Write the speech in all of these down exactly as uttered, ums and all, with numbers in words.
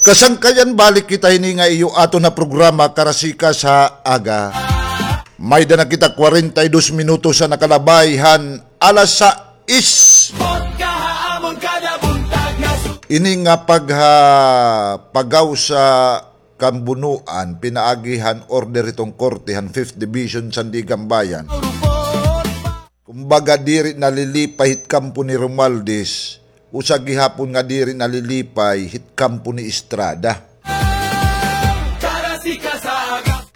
Kasangkayan, balik kita hini nga iyo aton nga programa, Karasikas ha Aga. May-ada na kita kwarenta y dos minutos an nakalabay han alas sais. Ini nga pagha-, pagaw sa kambunoan, pinaagi han order hiton korte han Fifth Division Sandiganbayan. Kumbaga, diri nalilipay hit kampo ni Romualdez, usa gihapon nga diri nalilipay hit kampo ni Estrada.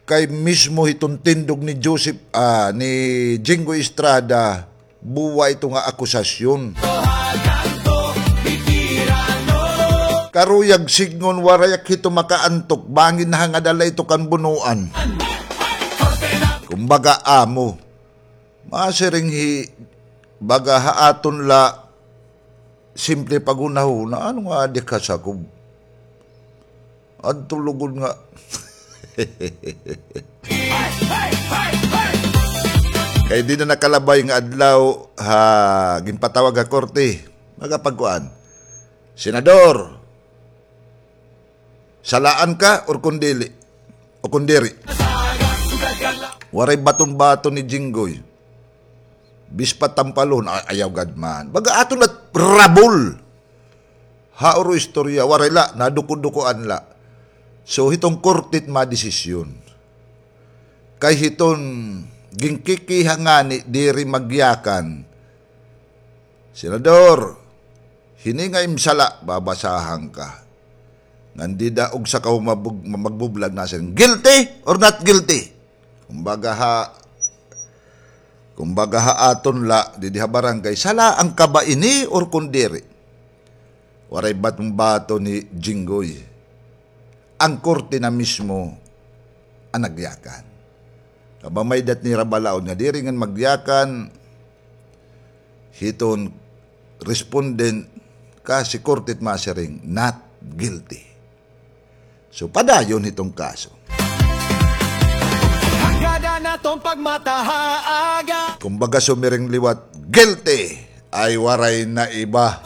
Kay mismo hiton tindog ni Joseph, ah, ni Jinggoy Estrada, buwa ito nga akusasyon. Karuyag sidngon, waray ak hito makaantok, bangin nahangad la ito kan bunoan. Kumbaga, amo. Masiring hi, baga ha aton la, simple paghunahuna, ano nga adi kasakob? Adto lugod nga. Kay di na nakalabay nga adlaw, ha, ginpatawag ha korte. Magapagkuan. Senador, salaan ka or kun dili? O kun diri? Waray baton-baton ni Jinggoy. Bispat tampalon, ay, ayaw gad man. Baga aton la rabol. Hauro istorya, waray la, naduko-dukoan la. So, hiton korte it madesisyon. Kay hiton ginkikiha ngani diri magyakan. Senador, hini nga im sala, babasahan ka. Ngan dida ugsa ka humabog-, magbublag na siring, "Guilty or not guilty?" Kumbaga ha, kumbaga ha aton la, didi ha barangay, salaan ka ba ini or kun diri? Waray baton-baton ni Jinggoy. An korte na mismo an nagyakan. Kabamay dat nira balaod nga diri ngan magyakan hiton respondent, kasi korte it masiring, not guilty. So, padayon hiton kaso. Hanggadan naton pagmata ha aga. Kumbaga, sumiring liwat, guilty, ay waray na iba.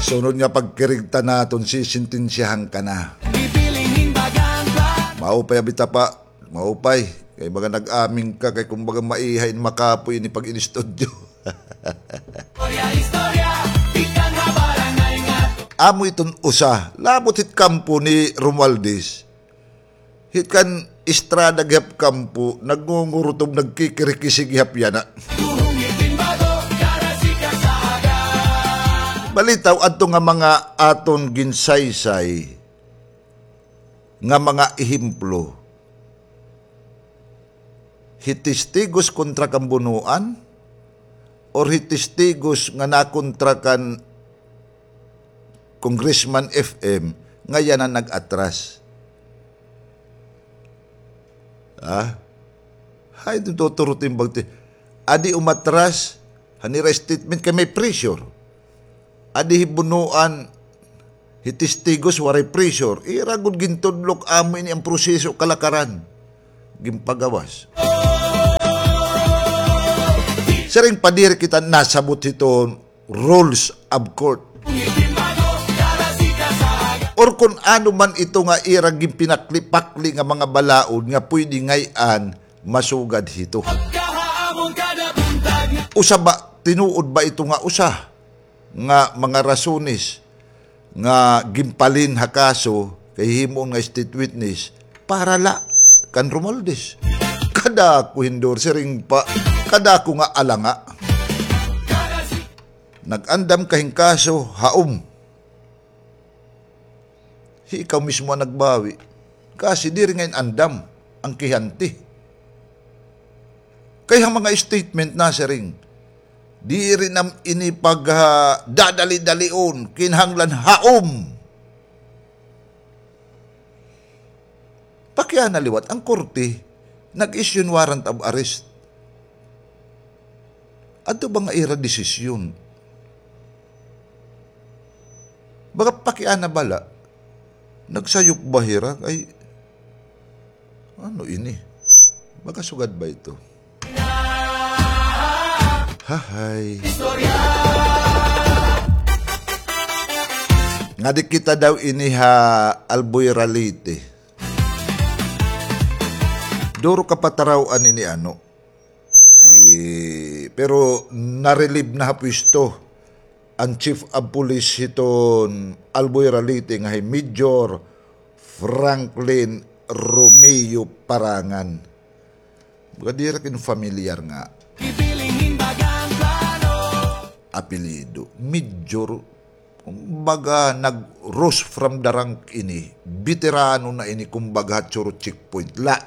Sunod nga pagkirigta naton, sisintensyahan ka na. Maupay, abi ta pa, maupay. Kay baga nag-aming ka, kay kumbaga maiha in makapoy ini pag-inistudyo. Amo iton usa, labot hit kampo ni Romualdez. Hit kan Estrada gihap kampo, nagngungurtob, nagkikirikisi gihap yana. Balitaw, adto nga mga aton ginsaysay nga mga ehemplo. Hi Testigos kontra kan bunoan, or hi Testigos nga nakontra kan Congressman F M, nga yana nag-atras. Ha? Hay, tuturo timbang ti-, adi umatras, han ira statement kay may pressure. Adi hi bunoan, hi Testigos, waray pressure. Ira gud gintudlok, amo ini an proseso kalakaran. Ginpagawas. Siring pa diri kita nasabot hiton rules of court. Or kun ano man ito nga ira ginpinakli-pakli nga mga balaod nga pwede ngay-an masugad hito. Usa ba, tinuod ba ito nga usa nga mga rasones nga ginpalin ha kaso kay himuon nga state witness para la kan Romualdez? Kadako, Hindor, siring pa, kadako nga alanga. Nag-andam ka hin kaso, haom. Hi ikaw mismo an nagbawi. Kasi diri ngay-an andam an kihanti. Kay ha mga statement nasiring, diri na ini pag, ah, dadali-dalion, kinahanglan haom. Pakiana liwat, an korte nag-issue hin warrant of arrest. Adto ba nga ira desisyon? Baga pakiana bala, nagsayop ba hira? Ay, ano ini? Baga sugad ba ito? Hahay. Ngadi kita daw ini ha Albuera, Leyte. Duro ka pataraw-an ini, ano. Eh, pero na-relieve na ha pwesto an Chief of Police hiton Albuera, Leyte nga hi Major Franklin Romeo Parangan. Baga diri ak in familiar nga apelyido. Major, kumbaga, nag-rose from the rank ini. Beterano na ini, kumbaga, ha Choro checkpoint la.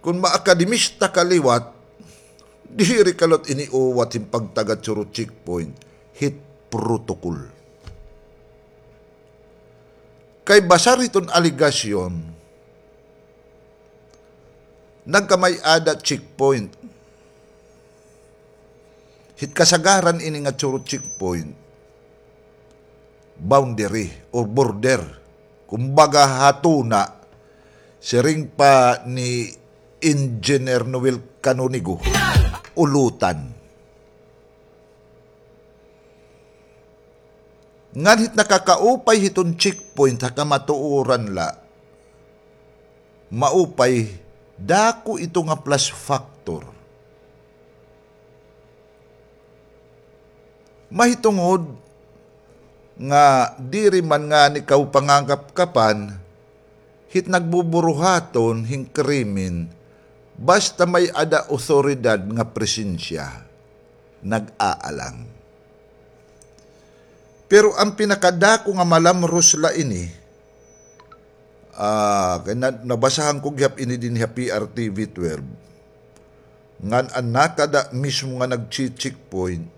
Kon maakademista ka liwat, diri ka liwat ini uwat hin pagtaga Choro checkpoint hit protocol. Kay basar hiton alegasyon, nagkamay-ada checkpoint. Hit kasagaran ini nga Choro checkpoint, boundary or border. Kumbaga, ha tuna, siring pa ni Engineer Noel Canonigo, ulutan. Ngan hit nakakaupay hiton checkpoint ha kamatuoran la, maupay, dako ito nga plus factor. Mahitungod nga diri man ngani kaw pangangapkapan hit nagbuburuhaton hin krimen, basta may-ada awtoridad nga presensya, nag-aalang. Pero an pinakadako nga malamros la ini, ah, kay na-, nabasahan ko gihap ini dinhi ha P R T V twelve, ngan an nakada mismo nga nagche-checkpoint,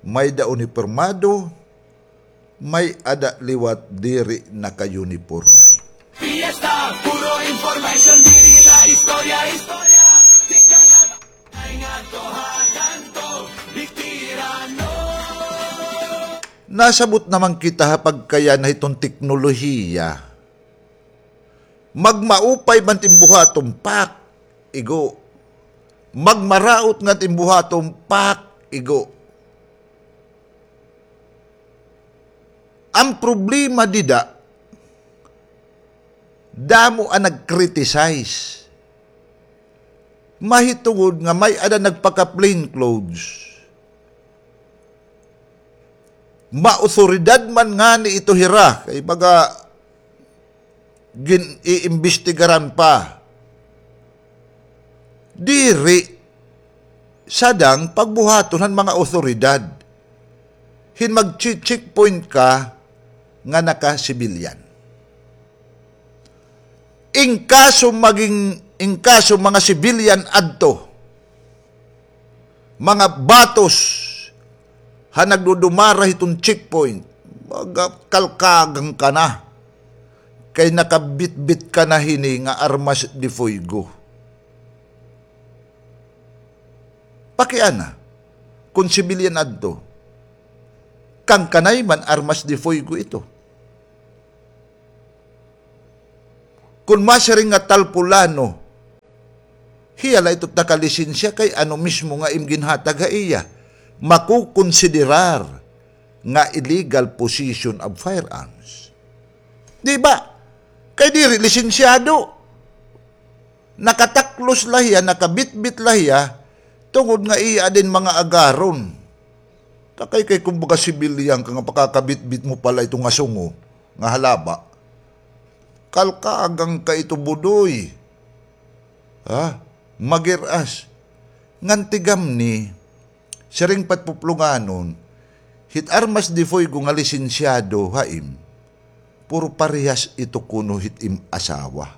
may-ada unipormado, may-ada liwat diri naka-uniporme. Fiesta, puro information, diri la istorya, istorya. Ay nga to ha kanto, bitirano. Nasabot naman kita ha pagkayana hiton teknolohiya. Magmaupay man it im buhaton, pak, igo. Magmaraot nga it im buhaton, pak, igo. An problema dida, damo an nag-criticize. Mahitungod nga may-ada nagpaka-plain clothes. Maawtoridad man ngani ito hira, kay baga gin-iimbestigaran pa. Diri sadang pagbuhaton han mga awtoridad hin magche-checkpoint ka nga naka-civilian. In kaso maging, in kaso mga civilian adto, mga batos ha nagdudumara hiton checkpoint, magakalkagang ka na. Kay nakabitbit ka na hini nga armas de fuego. Pakiana, kon civilian adto, kangkanay man armas de fuego ito. Kon masiring nga talpulano, hiya la ito nakalisensya kay ano mismo nga im ginhatag ha iya, makukonsiderar nga illegal possession of firearms. Di ba? Kay diri lisensyado. Nakataklos la hiya, nakabitbit la hiya, tungod nga iya din mga agaron. Takay kay kumbaga sibilyan ka nga pakakabitbit mo pala ito nga sungo, nga halaba. Kalkagang ka ito, Budoy. Ha? Magir-as. Ngan tigamni, siring pa it puplunganon, hit armas de fuego nga lisensyado ha im, puro parehas ito kuno hit im asawa.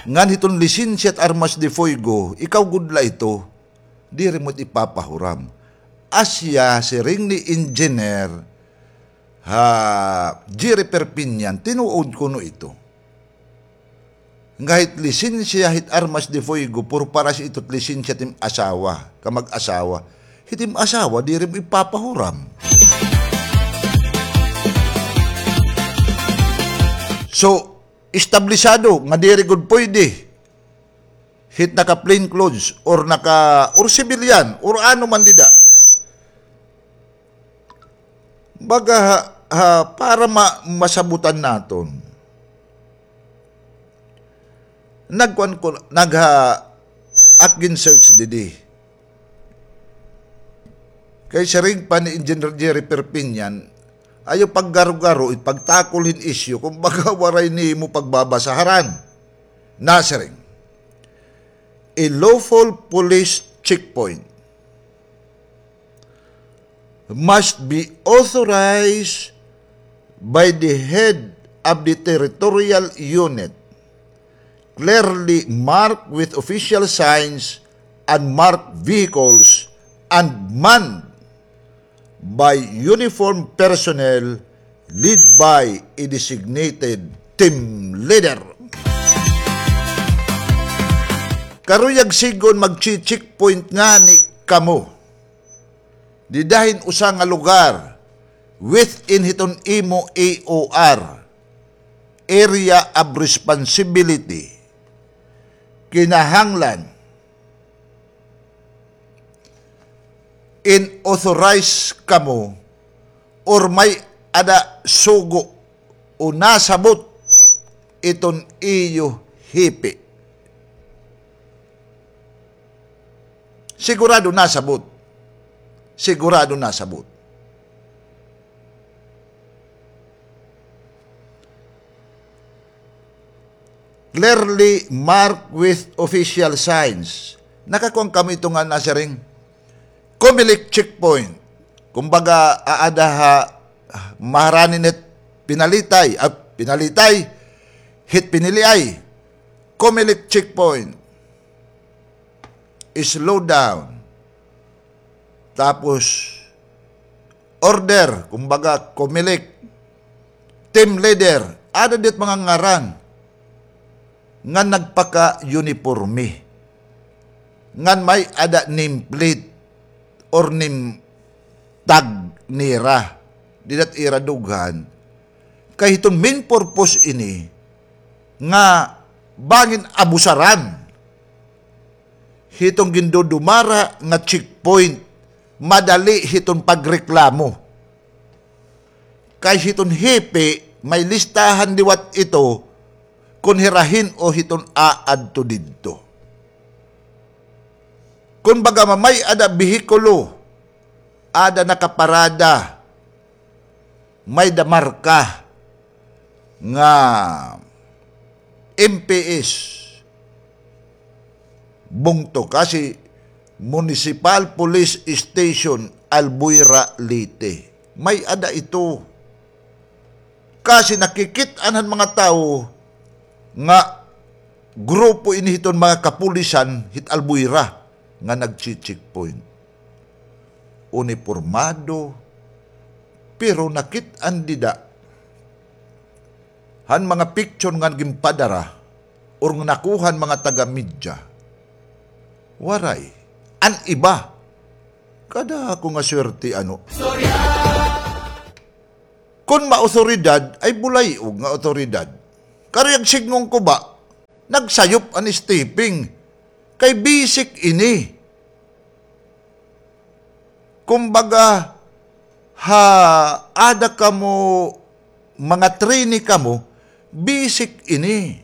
Ngan hiton lisensya hit armas de fuego, ikaw gud la ito, diri mo it ipapahuram. Asya, siring ni Engineer, ha, Jerry Perpignan, tinuod kuno ito. Nga hit lisensya hit armas de fuego, puro parehas ito hit lisensya hit im asawa, kamag-asawa. Hit im asawa, diri mo ipapahuram. So, establisado nga diri gud pwede hit naka plain clothes or naka, or civilian, or ano man dida, Baga ha, ha, para ma-, masabutan naton. Nagkuan ko, nagha-, ak gin-search didi. Kay siring pa ni Engineer Jerry Perpignan, ayaw paggaro-garo, ipagtakol hin isyu, kumbaga waray nimo pagbabasaharan. Nasiring, a lawful police checkpoint must be authorized by the head of the territorial unit, clearly marked with official signs, unmarked vehicles, and manned by uniformed personnel led by a designated team leader. Karuyag sidngon magche-checkpoint ngani kamo dida hin usa nga lugar within hiton imo A O R, area of responsibility, kinahanglan in-authorize kamo or may-ada sugo o nasabot iton iyo hepe. Sigurado nasabot. Sigurado nasabot. Clearly marked with official signs. Nakakuan kamo ito nga nasiring Comelec checkpoint. Kumbaga, aada ha maharani hit Pinalitay, ah, Pinalitay, hit Piniliay. Comelec checkpoint. Slow down. Tapos, order, kumbaga, Comelec, team leader, ada dit mga ngaran nga nagpaka-uniporme, ngan may-ada name plate or name tag nira, dida hit ira dughan, kay hiton main purpose ini nga bangin abusaran hiton gindudumara nga checkpoint, madali hiton pagreklamo. Kay hiton hepe, may listahan liwat ito kon hira hin-o hiton aadto didto. Kon baga may-ada behikulo, ada nakaparada, may-ada marka nga M P S bungto, kasi Municipal Police Station, Albuera, Leyte. May-ada ito. Kasi nakikit-an han mga tawo nga grupo ini hiton mga kapulisan hit Albuera nga nagche-checkpoint. Unipormado, pero nakit-an dida han mga picture nga ginpadara or nga nakuha han mga taga-media, waray. An iba, kadako nga swerte, ano. Kon maotoridad, ay bulay-og nga otoridad. Karuyag sidngon ko ba, nagsayop an stepping. Kay basic ini. Kumbaga, ha, ada kamo, mga trainee kamo, basic ini.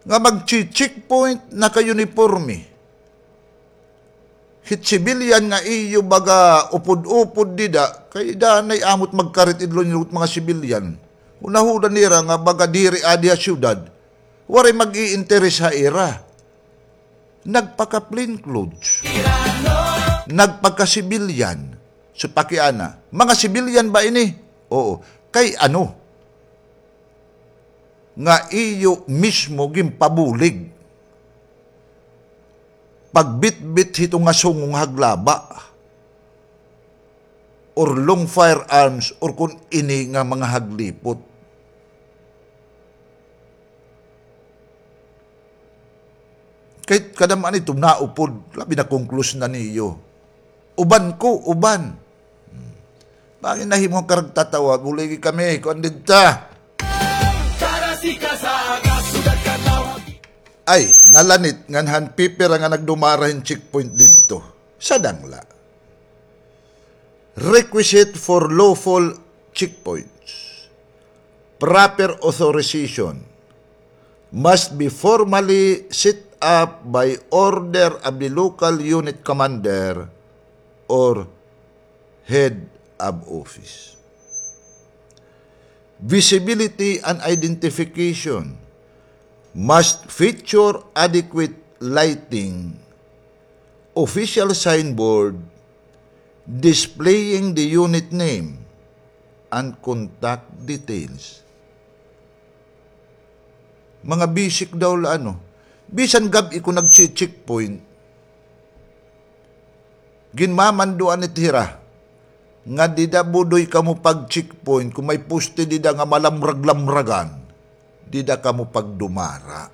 Nga magche-checkpoint, naka-uniporme. Hit civilian nga iyo baga upod-upod dida, kay danay amo it magkarit idlon nira it mga civilian. Hunahuna nira nga baga diri adi ha syudad, waray mag-iinteres ha ira. Nagpaka-plain clothes. Nagpaka-civilian. So, pakiana, mga civilian ba ini? Oo. Kay ano? Nga iyo mismo ginpabulig pagbitbit hito nga sungong haglaba or long firearms or kon ini nga mga haglipot. Kay kadam-an ito naupod, labi na kon close na niyo. Uban ko, uban. Hmm. Bangin nahimo ka nagtatawa, buligi kami, kuan didta. Ay, nalanit ngan han pipira nga nagdumara hin checkpoint didto. Sadang la. Requisite for lawful checkpoints. Proper authorization must be formally set up by order of the local unit commander or head of office. Visibility and identification must feature adequate lighting, official signboard displaying the unit name and contact details. Mga basic daw la, ano. Bisan gab-i ko nagche-checkpoint, ginmamanduan it hira nga dida budoy kamo pag-checkpoint, kon may poste dida nga malamrag-lamragan, dida kamo pagdumara.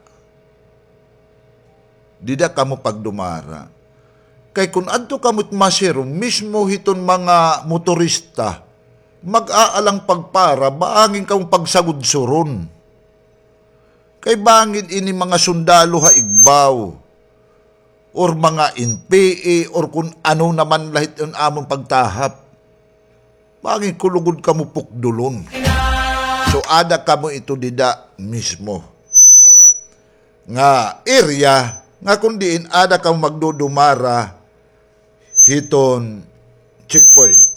Dida kamo pagdumara. Kay kon adto kamo it masirom, mismo hiton mga motorista, mag-aalang pagpara, bangin kamo pagsagudsuron. Kay bangin ini mga sundalo ha igbaw, or mga N P A, or kon ano naman la hit an amon pagtahap. Bangin kulugod kamo pukdulon. So, ada kamo ito dida mismo nga area nga kon diin ada kamo magdudumara hiton checkpoint.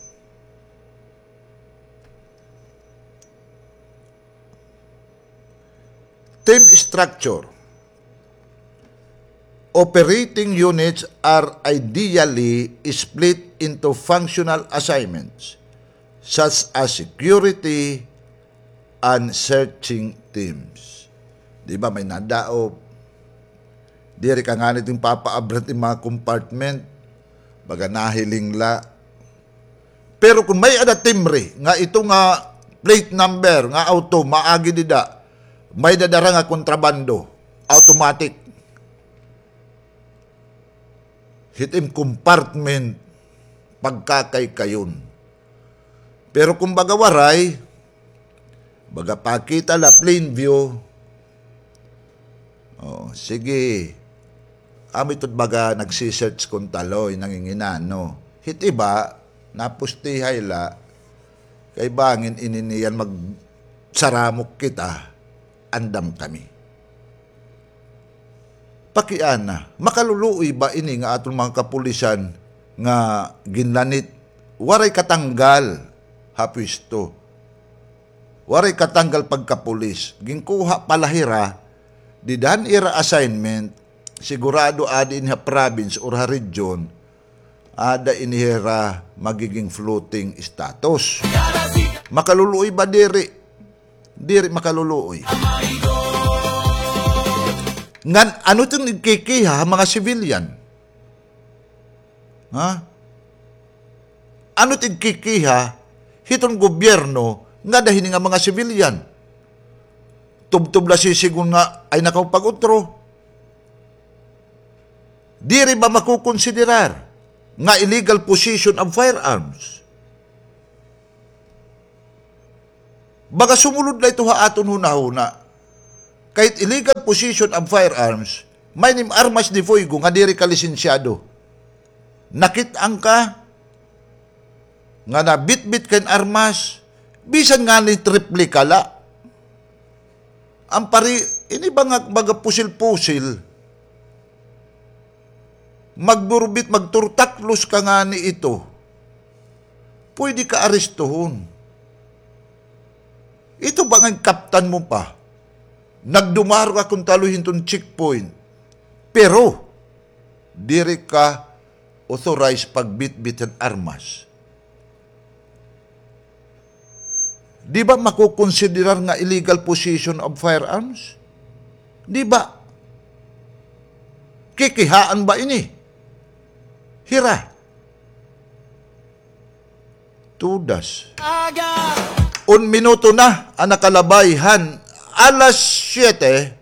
Team structure. Operating units are ideally split into functional assignments, such as security and searching teams. Di ba, may nadaop? Diri ka ngani ginpapaabra it mga compartment, baga nahiling la. Pero kon may-ada timbre nga ito nga plate number nga auto maagi dida, may-ada dara nga kontrabando, automatic. Hit im compartment, pagkakaykayon. Pero kon baga waray, baga pakita la plain view. O, sige. Amo ito it baga nagsi-search kon taloy, nanginginano. Hit iba, napustihay la, kay bangin ini niyan magsaramok kita, andam kami. Pakiana, makaluluoy ba ini nga aton mga kapulisan nga ginlanit, waray katanggal ha pwesto? Waray katanggal pagkapulis. Ginkuha pa la hira, dida han ira assignment, sigurado adi ini ha province or ha region, ada ini hira magiging floating status. Makaluluoy ba? Diri. Diri makaluluoy. Ngan, ano it igkikiha ha mga civilian? Ha? Ano it igkikiha hiton gobyerno ngada hini nga mga civilian? Tubtob la sisigon nga ay nakapag-utro. Diri ba makokonsiderar nga illegal possession of firearms? Baga sumulod la ito ha aton hunahuna. Kay illegal possession of firearms, may nim armas de fuego nga diri ka lisensyado. Nakit-an ka nga nabitbit ka hin armas, bisan ngani replika la. An pari, ini ba nga baga pusil-pusil, magburbit, magturtaklos ka ngani ito, pwede ka arestuhon. Ito ba nga kaptan mo pa? Nagdumaro ka kon taloy hiton checkpoint. Pero, diri ka authorized pagbitbit hin armas. Di ba makokonsiderar nga illegal possession of firearms? Di ba? Kikihaan ba ini hira? Tudas. Un minuto na an nakalabay han alas siyete.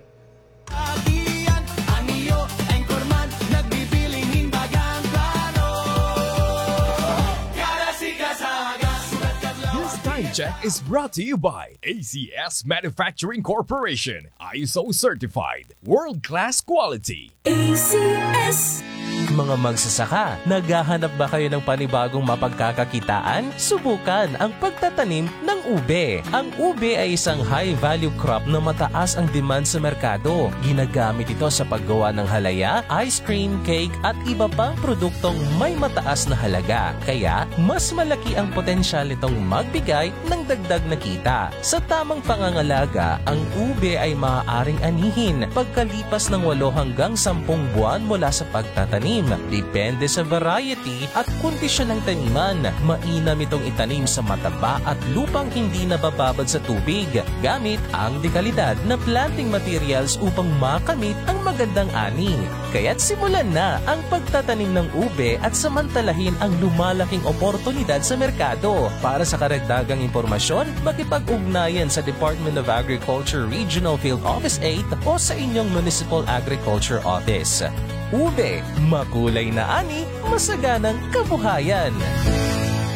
This time check is brought to you by A C S Manufacturing Corporation, I S O certified, world-class quality. A C S. Mga magsasaka, naghahanap ba kayo ng panibagong mapagkakakitaan? Subukan ang pagtatanim ng ube. Ang ube ay isang high-value crop na mataas ang demand sa merkado. Ginagamit ito sa paggawa ng halaya, ice cream, cake, at iba pang produktong may mataas na halaga. Kaya, mas malaki ang potensyal nitong magbigay ng dagdag na kita. Sa tamang pangangalaga, ang ube ay maaaring anihin pagkalipas ng walo hanggang sampung buwan mula sa pagtatanim. Depende sa variety at kondisyon ng taniman. Mainam itong itanim sa mataba at lupang hindi nabababad sa tubig gamit ang dekalidad na planting materials upang makamit ang magandang ani. Kaya't simulan na ang pagtatanim ng ube at samantalahin ang lumalaking oportunidad sa merkado. Para sa karagdagang impormasyon, makipag-ugnayan sa Department of Agriculture Regional Field Office eight o sa inyong Municipal Agriculture Office. Ube, makulay na ani, masaganang kabuhayan.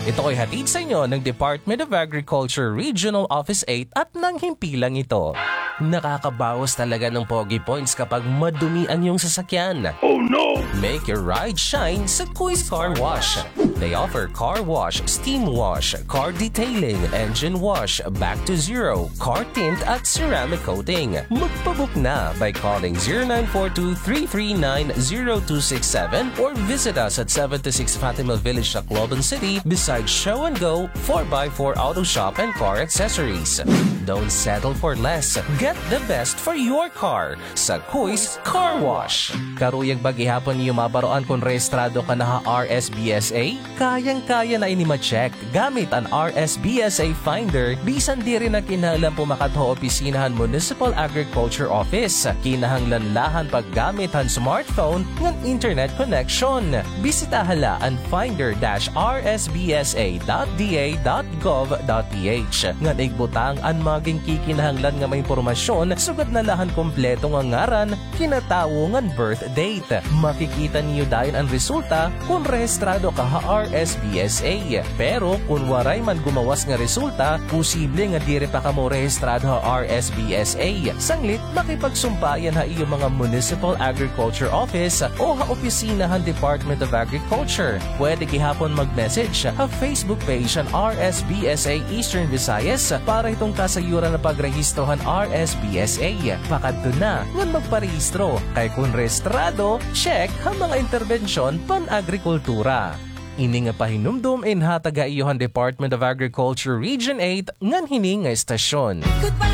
Ito ay hatid sa inyo ng Department of Agriculture Regional Office eight at ng himpilang ito. Nakakabawas talaga ng pogi points kapag madumi ang iyong sasakyan. Oh no! Make your ride shine sa Kuis Car Wash. They offer car wash, steam wash, car detailing, engine wash, back to zero, car tint at ceramic coating. Magpabook na by calling zero nine four two three three nine zero two six seven or visit us at seventy-six Fatima Village, Tacloban City, beside Show and Go, four by four Auto Shop and Car Accessories. Don't settle for less. Get the best for your car sa Kuis Car Wash. Karuyag ba gihapon niyo mabaroan kon rehistrado ka na ha R S B S A? Kayang-kaya na ini ma-check gamit an R S B S A Finder, bisan diri na kinahanglan pumakat ha opisina han Municipal Agriculture Office. Kinahanglan la han paggamit han smartphone ngan internet connection. Bisitaha la an finder dash R S B S A dot D A dot gov dot P H ngan igbutang an mga ginkikinahanglan nga mga impormasyon, sugad na la han kompleto nga ngaran, kinatawo ngan birth date. Makikita niyo dayon an resulta kon rehistrado ka ha R S B S A. Pero kon waray man gumawas nga resulta, posible nga diri pa kamo rehistrado ha R S B S A. Sanglit, makipagsumpayan ha iyo mga Municipal Agriculture Office o ha opisina han Department of Agriculture. Pwede gihapon mag-message ha Facebook page han R S B S A Eastern Visayas para hiton kasayuran nga pagrehistro han R S B S A. Pakadto na ngan magparehistro, kay kon rehistrado, check ha mga interbensyon pan-agrikultura. Ini nga pahinumdom inhatag ha iyo han Department of Agriculture Region eight ngan hini nga estasyon. Goodbye,